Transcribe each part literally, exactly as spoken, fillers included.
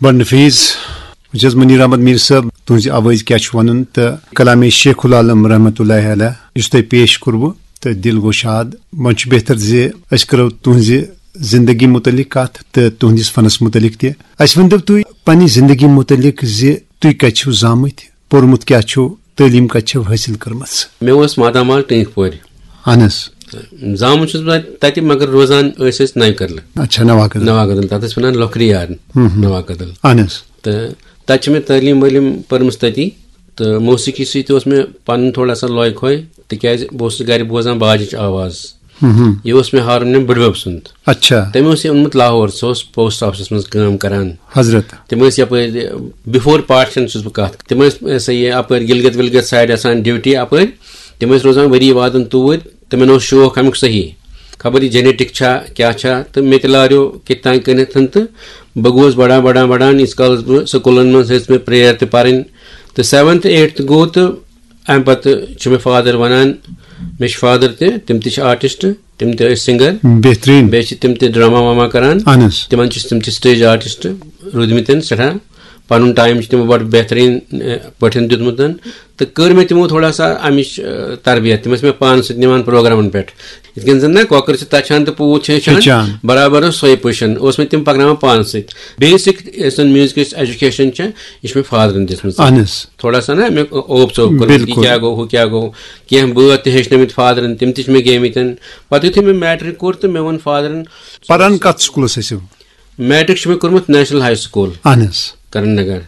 بڑٕ نفیٖس۔ وٕچھ حظ، منیٖر احمد میٖر صٲب، تُہٕنٛزِ آوٲزِ کیٛاہ چھُ وَنُن تہٕ کلامِ شیخ العالم رحمتہ اللہ علیہ یُس تۄہہِ پیش کوٚروٕ تہٕ دِل گوشاد، وۄنۍ چھُ بہتر زِ أسۍ کرو تُہٕنٛزِ زندگی متعلق کتھ تہٕ تُہٕنٛدِس فنس متعلق تہِ۔ اَسہِ ؤنۍتو تُہۍ پننہِ زندگی متعلق زِ تُہۍ کتہِ چھِو زامٕتۍ، پوٚرمُت کیٛاہ چھُو، تعلیٖم کتہِ چھِو حٲصِل کٔرمٕژ؟ مےٚ اوس ماتامال ٹٲنٛکۍ پورِ۔ اہن حظ۔ زامُت چھُس بہٕ تَتہِ، مگر روزان ٲسۍ أسۍ نَوِ کدلہٕ۔ اچھا، نوا کدل۔ نوا کدل، تَتھ ٲسۍ وَنان لۄکھرِ یار، ہُم، ہُم۔ نوا کدل۔ اہن حظ۔ تہٕ تَتہِ چھِ مےٚ تعلیٖم وٲلیٖم پٔرمٕژ تَتی، تہٕ موسیٖقی سۭتۍ تہِ اوس مےٚ پَنُن تھوڑا سا لوے کھوے، تِکیٛازِ بہٕ اوسُس گَرِ بوزان باجِچ آواز۔ ہُم، ہُم۔ یہِ اوس مےٚ ہارمونیم بٕڈبَب سُنٛد۔ اچھا۔ تٔمۍ اوس یہِ اوٚنمُت لاہور، سُہ اوس پوسٹ آفسَس منٛز کٲم کران۔ حضرت۔ تِم ٲسۍ یپٲرۍ، بفور پارٹیشن چھُس بہٕ کتھ، تِم ٲسۍ سا یہِ اپٲرۍ گلگت ولگت سایڈ آسان ڈیوٹی اپٲرۍ، تِم ٲسۍ روزان ؤری وادن توٗرۍ، تِمن اوس شوق امیُک صحیح، خبر یہِ جینیٹک چھا کیٛاہ چھا، تہٕ مےٚ تہِ لاریو کِتھ تام کٔنِتھ تہٕ بہٕ گوس بڑان بڑان بڑان، ییٖتِس کالس بہٕ سکوٗلن منٛز ہیٚژ مےٚ پریئر تہِ پرٕنۍ، تہٕ سیونتھ ایٹتھ گوٚو، تہٕ امہِ پتہٕ چھُ مےٚ فادر ونان، مےٚ چھِ فادر تہِ، تِم تہِ چھِ آرٹسٹ، تِم تہِ ٲسۍ سنگر۔ بہتریٖن۔ بیٚیہِ چھِ تِم تہِ ڈراما واما کران۔ اہن حظ۔ تِمن چھِ، تِم تہِ سٹیج آرٹسٹ روٗدمٕتۍ سٮ۪ٹھاہ۔ پنُن ٹایم چھُ تِمو بڑٕ بہتریٖن، اے، پٲٹھۍ دیُتمُت۔ تہٕ کٔر مےٚ تِمو تھوڑا سا امِچ، اے، تربیت۔ تِم ٲسۍ مےٚ پانس سۭتۍ نِوان پروگرامن پٮ۪ٹھ۔ یِتھ کٔنۍ زن نہ کۄکر چھِ تچھان تہٕ پوٗت چھِ ہیٚچھان، ہیٚچھان۔ برابر اوس سۄے پُشن۔ اوس مےٚ تِم پکناوان پانس سۭتۍ۔ بیسک یۄس زن میوزکٕچ ایجوکیشن چھےٚ، یہِ چھِ مےٚ فادرن دِژمٕژ۔ اہن حظ۔ تھوڑا سا نہ مےٚ اوپ ژوپ کوٚرمُت، یہِ بِلکُل۔ کیٛاہ گوٚو، ہُہ کیٛاہ گوٚو۔ کینٛہہ بٲتھ تہِ ہیٚچھنٲومٕتۍ فادرن، تِم تہِ چھِ مےٚ گیمٕتۍ۔ پتہٕ یُتھُے مےٚ میٹرک کوٚر تہٕ مےٚ ووٚن فادرن۔ پران کتھ سکوٗلس ٲسِو؟ میٹرک چھُ مےٚ کوٚرمُت نیشنل ہاے سکوٗل۔ اہن حظ۔ کرن نگر۔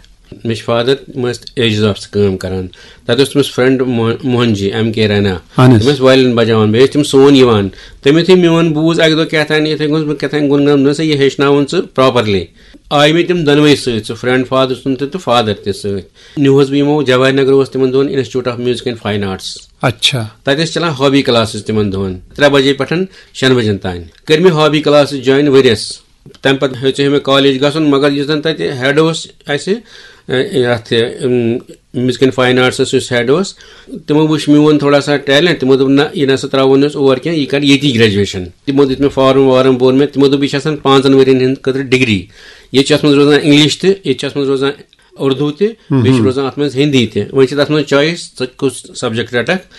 مےٚ چھِ فادر، تِم ٲسۍ ایجز آفسہٕ کٲم کران۔ تتہِ اوس تٔمِس فرینڈ موہ-، موہن جی، ایم کے رینا۔ اہن حظ۔ تِم ٲسۍ وایلن بجاوان، بیٚیہِ ٲسۍ تِم سون یِوان۔ تٔمۍ یُتھُے میون بوٗز اکہِ دۄہ کیٛاہ تام، یِتھے کٔنۍ اوسُس بہٕ کیٛاہ تام گُنگناوان، دوٚپنَس، "ہے، یہِ ہیٚچھناوُن ژٕ پراپرلی۔" آیہِ مےٚ تِم دۄنوَے سۭتۍ، سُہ فرینڈ فادر سُنٛد تہِ تہٕ فادر تہِ سۭتۍ۔ نیوٗہس بہٕ یِمو، جواہر نگر اوس تِمن دۄہن institute of music and fine arts. اچھا۔ تتہِ ٲسۍ چلان ہابی کلاسز تِمن دۄہن، ترٛےٚ بجے پٮ۪ٹھ شٮ۪ن بجن تام۔ کٔرۍ مےٚ ہابی کلاسز جوین ؤریس۔ تمہِ پتہٕ ہیوٚت مےٚ کالج گژھُن، مگر یُس زن تتہِ ہیڈ اوس اسہِ، ا، یتھ، ام، میوزک اینڈ فاین آرٹسس یُس ہیڈ اوس، تِمو وٕچھ میون تھوڑا سا ٹیلنٹ، تِمو دوٚپ، "نہ، یہِ نہ سا تراوو نہٕ أسۍ اور کینٛہہ، یہِ کر ییٚتی گریجویشن۔" تِمو دیُت مےٚ فارم وارم، بوٚر مےٚ، تِمو دوٚپ، "یہِ چھِ آسان پانٛژن ؤرین ہٕنٛدِ خٲطرٕ ڈگری، ییٚتہِ چھِ اتھ منٛز روزان انگلش تہِ، ییٚتہِ چھِ اتھ منٛز روزان اردو تہِ، بیٚیہِ چھِ روزان اتھ منٛز ہندی تہِ۔ وۄنۍ چھِ تتھ منٛز چویس، ژٕ کُس سبجیکٹ رٹکھ۔"